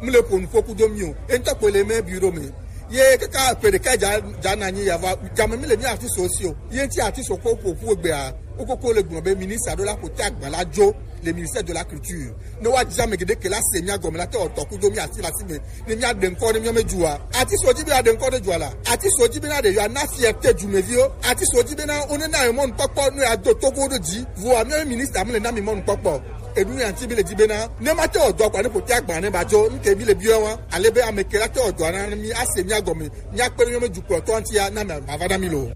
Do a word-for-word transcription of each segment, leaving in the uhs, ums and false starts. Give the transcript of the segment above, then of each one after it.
Mu le ƒo nuƒo kudo mi o. Ento kpo le me bureau me. Ye kaka pe ɖeka dza dza na nyi ya va dza me mi le mi ati so si o. Ye ti ati so ko ƒo ƒu egbe a. Wo koko le gblɔ be ministre ɖo la ƒo te agba la dzo le ministère de la culture. Ne wa dza me gede ke la se mi agɔme la te o tɔ kudo mi ati la si me. Ne mi aɖe ŋkɔ ne mi me dzua. Ati so dzi be aɖe ŋkɔ ne dzua la. Ati so dzi be na ɖe yo na fierté du me vi o. Ati so dzi be na o ne na yo mɔnu kpɔkpɔ no ya do togo do dzi. Vo a mi ministre am le na mi mɔnu kpɔkpɔ. Eɖu ya ŋuti bi le dzi bena ne mate wɔ dɔ kpa ne ƒotea gbalẽ ne ba dzo nu ke mi le biɔ wa ale be ame ke la te wɔ dɔa na mi ase mia gɔme mia kpe ɖe míaƒe dukplɔtɔ ŋutia na mi ava na mi lo.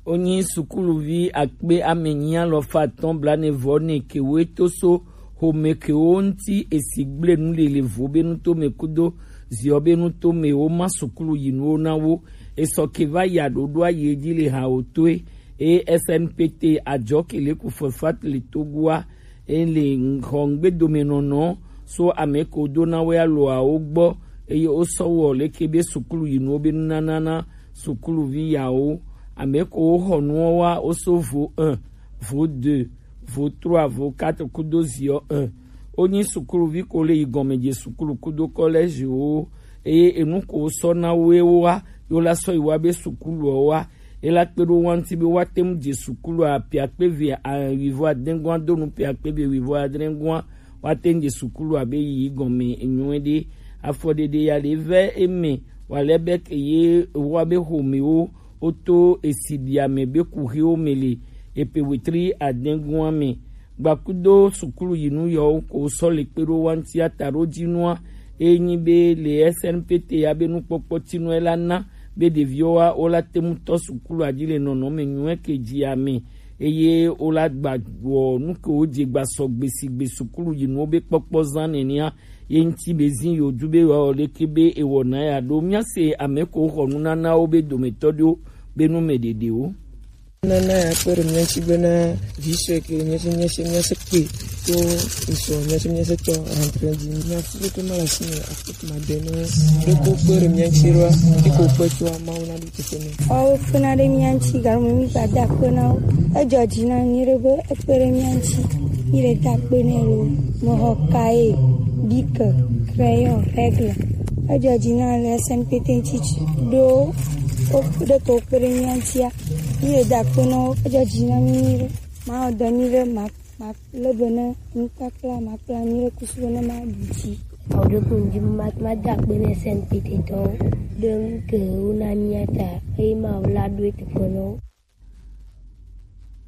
Wonyi sukuluvi akpe ame enyi alafa atɔ̃ blaene vɔ ene kewoe to so xome kewo ŋuti esi gblẽ nu le le vo be nutome kudo ziɔ be nutome woma sukulu yi nuwo na wo. Esɔ ke va yi aɖoɖoa yi edzi le hawo toe eye S N P T ajɔ ke le ku fefa le Togoa. Ele xɔ ŋgbedomenɔnɔ so ame ko do na wo aloawo gbɔ eye wosɔ wɔ leke be sukulu yi nuwo be nunana na sukuluvi yawo. Ame ko woxɔ nuwo wa woso vo un, vo deux, vo trois, vo quatre kudo ziɔ un. Wonyi sukuluvi ko le yi gɔme dze sukulu kudo kɔlɛziwo eye enu ko wosɔ na wo ye wowa yo la sɔ yi wa be sukuluwo wa. Ela kpe ɖo wa ŋuti be woate ŋu dze sukulu apiakpe ve a- wuivo adegɔa do nu piakpe ve wuivo adegɔa woate ŋu dze sukulu abe yiyi gɔme enyuie ɖe. Afɔɖeɖe ya le ve eme wale be ke ye wa be xomewo woto esi ɖia me be kuxiwo me le epe wetri adegɔa me. Gbakudo sukulu yinu yawo ko sɔ le kpe ɖo wa ŋuti ata ɖo dzinua eye nyi be le S N P T ya be nukpɔkpɔ tinɔe la na be ɖeviwo wa wo la te ŋu tɔ sukulu adzi le nɔnɔme nyuie ke dzi ame eye wo la gba wɔ nu ke wo dze gba sɔgbe sigbe sukulu yinuwo be kpɔkpɔ zã nenea ye ŋuti be zi yo du be wa wɔ leke be ewɔ na ya ɖo mía se ame ko xɔ nunanawo be dometɔ ɖewo be nu me ɖeɖewo. Nana ya kpe ɖe mía ŋuti bena vi sue ke le mía se mía se mía se kpe to ŋsɔ mía se mía se tɔ rentrée dzi mía fu ɖeke ma le asi me afɔ kuma de ne ɖeko kpe ɖe mía ŋuti ɖoa eko kpe tsoa Mawu na ɖo teƒe ne. Woawo fena ɖe mía ŋuti galo me mi gba da akpe na wo. Edzɔ dzi na nyuie ɖe be ekpe ɖe mía ŋuti. Mi le da akpe nɛ lo. Mexɔ kaye, bike, crayon, règle. Edzɔ dzi na le S N P T ŋuti ɖo wo ɖe ke wo kpe ɖe mía ŋutia. Mi le da akpe na wo. Edzɔ dzi na mi nyuie ɖe. Mawɔ dɔ nyuie ɖe ma ma le be ne nukpakpla ma kpla nyuie ɖe kusu be ne ma ɖu dzi. Awo ɖe ko ŋdi ma ma da akpe ne S N P T tɔwo ɖe nu ke wo na mía ta eye ma wo la ɖo teƒe na wo.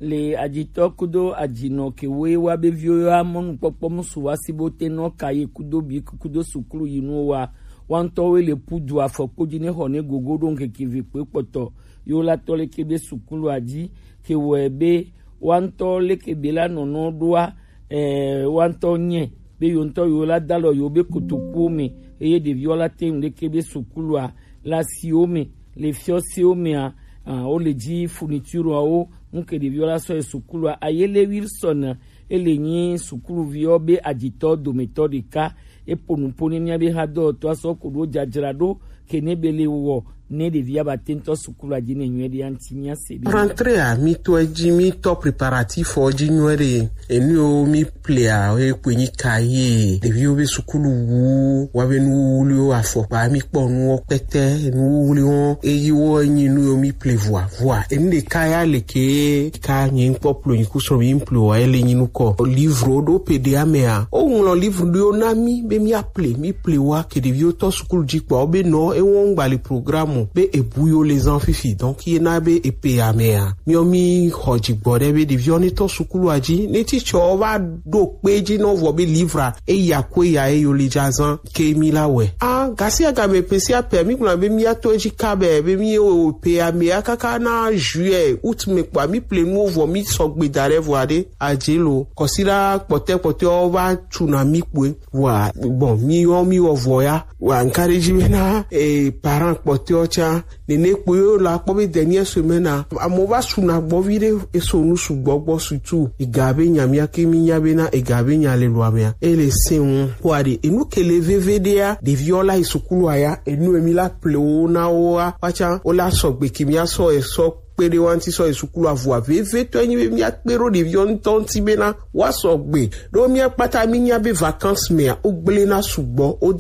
Le adzitɔ kudo adzinɔ ke woe wa be viwo ya mɔnukpɔkpɔ musu wa si bo te nɔ ka ye kudo bi kudo sukulu yi nu wa wa ŋutɔ woe le pu du afɔkpo dzi ne xɔ ne gogo ɖo ŋkeke ve kpe kpɔtɔ yo la tɔ le ke be sukulu adzi ke wɔe be wa ŋutɔ leke be la nɔnɔ ɖoa eh, wa ŋutɔ nye be yo ŋutɔ yo la da lɔ yo be kotokuwo me eye ɖeviwo la te ŋu leke be sukulua le asiwo me le fiɔsiwo mea ah, wo le dzi furnitureawo ŋke ɖeviwo la sɔ yi sukulua ayele Wilson ele nyi sukuluviwo be adzitɔ dometɔ ɖeka eƒo nu ƒo ne mía be hadɔwɔtɔa sɔ ko ɖo dzadzraɖo ke ne be le wɔ ne ɖevia ba te ŋutɔ sukulu adzi ne nyuie ɖe aŋuti mía se ɖe. Rentrée a mi to edzi mi tɔ préparatif o dzi nyuie ɖe enu yo mi plea ye kpe nyi ka ye ɖeviwo be sukulu wu wa be nuwuwuliwo afɔkpa mi kpɔ nuwo kpɛtɛ nuwuwuliwo eyi wo enyi nu yo mi ple vua vua enu ɖeka ya le ke ka nye ŋkpɔ plo nyi kusrɔ mi plo wa ele nyi nukɔ livre ɖo pe ɖe amea o ŋlɔ livre ɖo na mi be mi aple mi ple wa ke ɖeviwo tɔ sukulu dzi kpɔ be nɔ ewɔ ŋgba le programme be ebu yo le zan fifi donc ye na be epe amea miɔ mi xɔ dzigbɔ ɖe be ɖeviwo ne tɔ sukulu adzi ne titsɔ va ɖo kpe dzi nɔ vɔ be livre eya ko eya eyo le dza zan ke mi la wɛ. A gasi agame pe sia pe mi gblɔ be mi ato edzi ka be be mi o pe amea kaka na juillet août me kpɔa mi ple nuwo vɔ mi sɔgbe da ɖe vɔ aɖe adze lo kɔsi la kpɔtɛ kpɔtɛ wo va tu na mi kpoe. Wa bon mi yɔ mi wɔ vɔ ya wa nka ɖe dzi be na eh, parent kpɔtɛ wo tsa nene kpoe wo la kpɔ be dernière semaine a amewo va su na gbɔ vi ɖe eso nu sugbɔ gbɔ surtout ega be nya mía ke mi nya be na ega be nya le lua mea ele se ŋu kpɔa ɖe enu ke le veve ɖea ɖeviwo la yi sukulu aya enu emi la ple wo na wo wa watsa wo la sɔgbe ke mía sɔ esɔ kpe ɖe wa ŋuti sɔ yi sukulu avua veve tɔ enyi be mía kpe ɖo ɖeviwo ŋutɔ ŋuti be na wa sɔgbe ɖo mía kpata mi nya be vacances mea wo gblẽ na sugbɔ wo dan